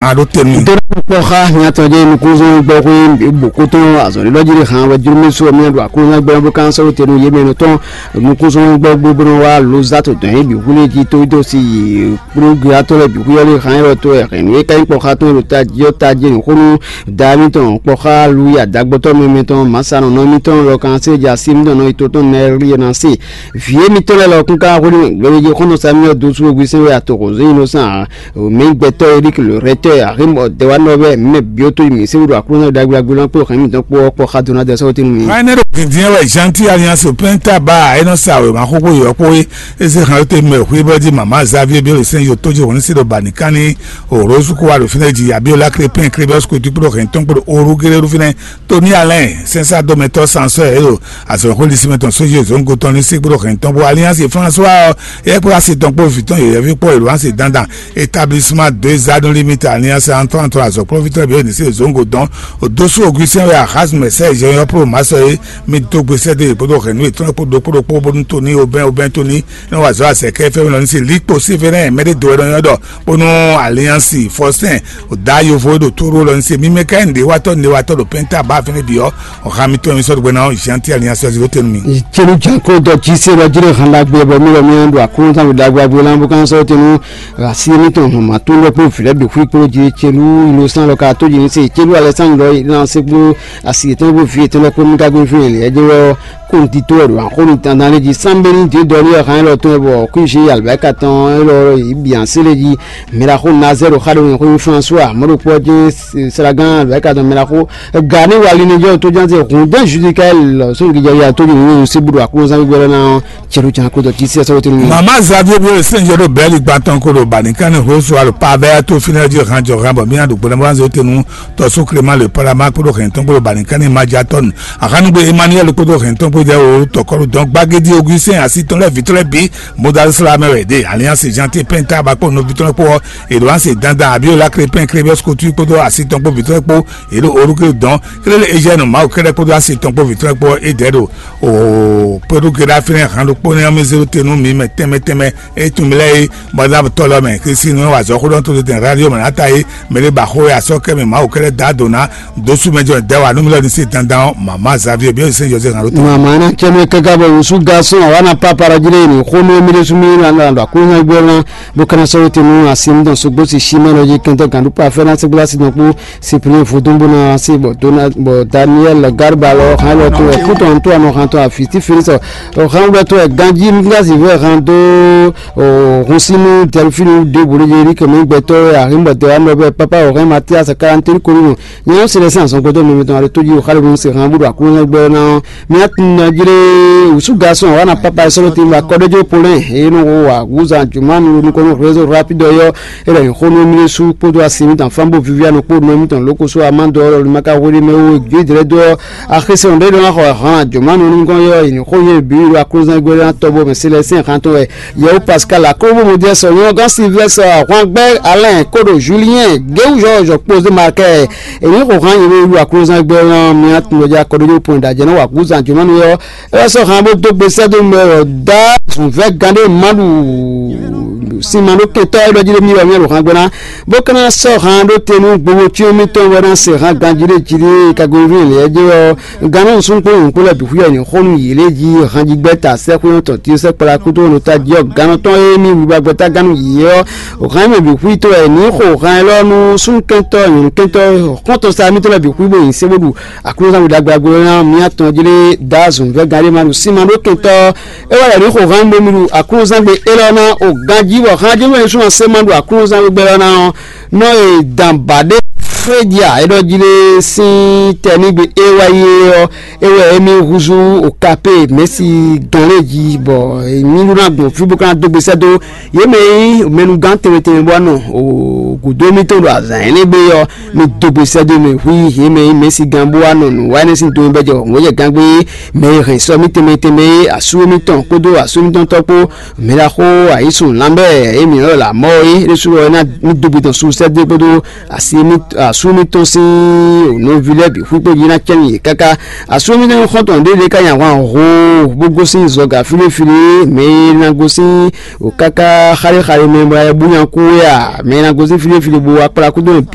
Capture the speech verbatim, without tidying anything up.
a ɖó te nú mì. Dó kpɔ́ xá hiatɔn jɛ nukúnzɔn gbɔ xwé bò kótó azɔ̌lélɔ́ jí hàn wɛ jló mɛ sɔ mɛ ɖo aklúnɔ gbɛ́ bó kán sɔ́ tenu yé mɛ nɔ tɔn nukúnzɔn gbɔ gbó bó nɔ wá ló zá to dɔn yé bǐ xwlé jí tó dó sí yi kpló gbéatɔ́ lɛ bǐ xwé ɔ́ lé hàn yɔ́ tó ɛ hɛn nú é ká nyí kpɔ́ xá tɔn ɖo ta jí ɔ́ ta jɛ nǔ xónú da mítɔn kpɔ́ xá lu yi adagbɔtɔ́ mɛ mɛtɔn mǎsanɔnɔ mítɔn lɔ kan sé ja sí mítɔn nɔ yi tó tɔn nɛ rí ɛ ná se vǐ émítɔn lɛ́ɛ lɔ kún ká xwlé gbɛmɛ jí xɔ́nɔ Samuel dó sú ogwi sɛn wɛ atoxo zé innocent ǎ. Mɛ gbɛtɔ́ Eric le rɛtɛ arimɔ dɛwanɔ bɛ mɛ biotó mi se wúɖu aklúnɔ ɖagblagblã kpó hɛn mi dɔn kpó kpɔ xa dona dɛ sɔwɔ tinu mi. Ká ɛnɛ ɖo dǐndín wɛ Jean-Pierre Alliance Penta ba é nɔ sa wěma xóxó yɔ̌ kpó é. É zé xan te mɛ xwé bɔ jí mama Xavier Biolesɛn yo tó jí hɔn sí ɖo bani kánní o Rose kó wa ɖo fínɛ́ jí Abiola Crépin Crébes Coutu kpó hɛn tɔn kpó Oru Géré ɖo fínɛ́. Tony Alain sɛnsá dɔmɛtɔ́ sansɔ́ ɛ ɖo azɔ̌xwé lisí mɛ tɔn sójú zongo tɔn ní sí kpó hɛn tɔn bó Alliance François ɔ́ é kpó asi tɔn kpó vǐ tɔn yɛ̌yɛ́ví kpó èlò asi dandan établissement deux anneaux limite Alliance Antoine tɔn azɔ̌kplɔ́ví tɔn bíi ní sí zongo dɔn òdósú Augustin wɛ Ahaz mɛ sɛ jɛ yɔ pro masɔ é mi dó gbe sɛdé kpódó hɛnú yětɔn kpó ɖokpó ɖokpó bónú Tony Aubin Aubin Tony ní wà zɔ azɛkɛ fɛn mi lɔ ní sí likpo sí fɛnɛ mɛ ɖé do wɛ nɔ nyɔ ɖɔ bónú Alliance Faustin òdá yovo ɖo tóro lɔ ní sí mi mɛ ká ní ɖé watɔ ní ɖé watɔ ɖo pɛnta bá fɛnɛ bǐ ɔ́ ọ̀hán mi tɔn mi sɔ́ ɖo gbɛ ná Jean Pierre Alliance ɔ́ zéro tɛnu mi. Celu janko dɔ jí se lɔ jí ɖe hàn ɖagbe bɔ mi lɔ mi ɖo aklúnɔ tán mi ɖagbe agbe lánbó kán sɔ́ tɛnu asi mi tɔn hàn ma tó lɔ kpó vǐ lɛ́ bǐ xwí kpó jí celu ilo sán lɔ ka tó jí ní se celu alɛ sán lɔ ná se kpó asi yětɔn kpó vǐ yětɔn lɛ́ kpó mi ka gbé fún yɛn lɛ ɛjɛ wɛ ɔ́ kó ŋdi tó wɛ ɖo axó mi dandan lé jí sánbéní dě dɔ ní wɛ hàn lɔ tɔn wɛ bɔ kú jí alibɛka tɔn élɔ yi bǐ ansé lé jí mɛ ɖaxó Nazɛ́ ɖo xa ɖo nyɛ xó nyí François mɔ̌ ɖokpó ɔ́ jɛ́n Sragán alibɛka tɔn mɛ ɖaxó Gani wali ní jɔ tó jánse hùn dɛn Judika lɔ sɔn gidja ya tó jɛ ní sí buɖo aklúnzán gbígbɛ lɔ ná ɔ́ cɛɖu can kó dɔ jí sí ɛsɛ wótó ní. Mama Xavier bí sɛn jɔ ɖo bɛɛli gbantɔn ko ɖo bani kánní hó so alo pa bɛɛ tó fínɛ jí hàn jɔ hàn bɔ mí àdó gbɔdɔ bá ń zɛ wótó nú tɔsó Clément le Palama kpódó hɛn tɔn kpódó bani kánní Maja tɔn. Àhánugbé Emmanuel kpódó hɛn tɔn kpódó jɛ o tɔkɔlu dɔn gbagédí Augustin asítɔn lɛ vitɔlɛ bí modal sla mɛ wɛ dé Alliance Gentil Penta bakpó nɔvítɔn kpó ɔ èɖò wá se dandan Abiola Crépin Crébes Coutu kpódó asítɔn kpó vitɔlɛ kpó èɖò orúkú dɔn kélé Eugène Mawu kɛ́ɖɛ́ kpódó asi tɔn kpó vitɔ́ kpó é dɛ̌ ɖo o kpódó geɖá fínɛ́ han ɖokpó nɛ́ ɔ́ mɛ zé ɖó te nú mi mɛ tɛnmɛ tɛnmɛ é tún mi lɛ́ɛ é bɔ ná tɔ́ lɔ mɛ Kristi nú wà zɔ́ xó ɖɔ tó tɛn radio mɛ ná ta é mɛ ɖé ba xó é asɔ́ kɛ mɛ Mawu kɛ́ɖɛ́ dá dǒ ná dósú mɛ jɔ dɛ́ wà nú mi lɔ ní sí dandan ɔ́ mama Xavier bí ó sì sɛ́n José han ɖó tɛn. Mama ná cɛ mɛ kaka bɔ wusu garçon awa na papa ɖɔ jí lé ní xó nú mi ɖésú mi ná ɖɔ àkúnyɛ gbé ná bó kana sɔ́ wóte nú asi mi dɔn sógbó si sí mɛ lɔ jí kɛntɛ gǎn ɖó pa fɛ́ ná sɛ́gbó asi dɔn kpó Cyprien Vodún bó ná sí bɔ Dona bɔ Daniel Garba lɔ hàn lɔ tó ɛ kútɔ ntó anɔ hàn tó àfi tí Félix ɔ hàn wúlò tó ɛ ganjí nígbàsí fẹ́ hàn dó ɔ hun sínú Delphine dé bòló yé rí kẹmí gbẹtọ́ ẹ àhín bɔ tẹ wà nọ bẹ papa ɔ hàn Mathias quarante kórìnù nyɛ ɔ sẹlẹ sí àsán gbẹtọ́ mi tɔn àlọ tó yí ɔ xálẹ̀ mi sè hàn búdò àkúrò gbẹ náà mi á tún nà jíré wùsù gasùn àwọn àna papa ẹ sọlọ tí ma kọ́ dé jó polẹ́ èyí nù wà wúzà jùmọ̀ nù nukọ́nù réseau rapide yọ Ele xó nú mì sú kpódó asi mǐtɔn Flambeau Viviane kpó nɔ mǐtɔn lókosó Amando ɔ́ lɔlú ma ka hwelé mɛ wú gbé dlɛ́ dó ɔ́. Axése ɔ́ ɖé nɔ xɔ hàn jǒmánu nukɔn yɔ yi xó yé bǐ ɖo aklúzán gbé ná tɔbɔ mɛ Célestin xantɔn wɛ Yɛwú Pascal akóbó mo jẹ́ sɔ nyɔ́gán Sylvestre ahwangbɛ́ Alain kóɖo Julien Géwúzɔ́ Jɔkpózé Markɛ èmi xo hàn yě ɖo aklúzán gbé ná mi atúndɔjá kɔɖójó pɔn ɖajɛ náà wà kúzán jǒmánu yɔ É wá sɔ́ han bó dó gbe sɛ́ dó mɛ ɔ́ dá zǔnvɛ́ gán ɖé ma ɖu sinma ɖó kɛntɔ́ é ɖɔ jí ɖé mì wɛ mì ɖo han gbé ná bó ka ná sɔ́ han ɖó te nú gbogbo cyɔ́n mitɔn wɛ ná se han ganjí ɖé jí ɖé kagoví lě jí ɔ́ gannú nǔsúnkpó nyǐkú lɛ́ɛ bǐ xwíyɔ ní xó nú yě lé jí hanjigbɛ́ta sɛ́xwé tɔn tí sɛ́ kpla kútó nɔ ta jí ɔ́ gannú tɔn e mì wiwa gbɛ́ta gánú yě ɔ́ o han mɛ bǐ xwí tó wɛ ní xo han élɔ́ nú súnkɛntɔ́ nyɔ̌nukɛntɔ́ xɔ́ntɔn sa mitɔn lɛ́ɛ bǐ xwí bó nyi sɛ́ bó ɖu Aklúnɔzán ɖagbe agbo ɔ́ ná mì atɔn jí lé dá zǔn vɛ́ gán ɖé ma ɖo sín ma ɖó kɛntɔ́ é wá yɛ ní xo hán bó mì ɖu aklúnɔzán gbe élɔ́ ná o ganjí bɔ hán jɛ́n wɛ sú ɔ́ sé ma ɖu aklúnɔzán gbe élɔ́ ná ɔ́ nɔ e dan ba ɖé frédia é ɖɔ jí lé sín tɛ ní gbe é wá yi é ɔ́ é wɛ émí húzú o kapé mɛ̌si gán lé jí bɔ mì ɖó ná gbɔn fí bó ka ná dó gbe sɛ́ dó Yě mɛ e nyí mɛnugán tɛnmɛ tɛnmɛ bó wá nɔ gǔdo émítɔn ɖo azǎn énɛ́ gbe ɔ́, mi dó gbe sɛ́ dó mɛ hu yě mɛ e nyí mɛ̌sigán bó wá nɔ nǔ wa énɛ́ sín do e bɛ́ jɛ wɔ̌ngbɔ́jɛgán gbé é, mɛ e hɛn sɔ émítɔn mɛ tɛnmɛ é, asú émítɔn kpódó asú émítɔn tɔ́ kpó, mɛ ɖaxó ayǐsun lanbɛ́ e mǐ nɔ ɖɔ lǎmɔ́ é, é ɖésú ɔ́ é ná mì dó gbe tɔn su sɛ́ dó kpódó asú émítɔn sín nɔví lɛ́ɛ bǐ hu kpó jí ná cɛ́ nú yě káká. Asú émítɔn nyí xɔ́ntɔn ɖé ɖé ká nyi ahwan hoo bó gosín zɔga fíɖéfíɖé, mɛ e ná gosín O káká xaɖéxaɖé mɛ bɔ é bú nya kú wɛ a? Mɛ e ná gosín fíɖéfíɖé bó wá kplá kúdó nɔ bǐ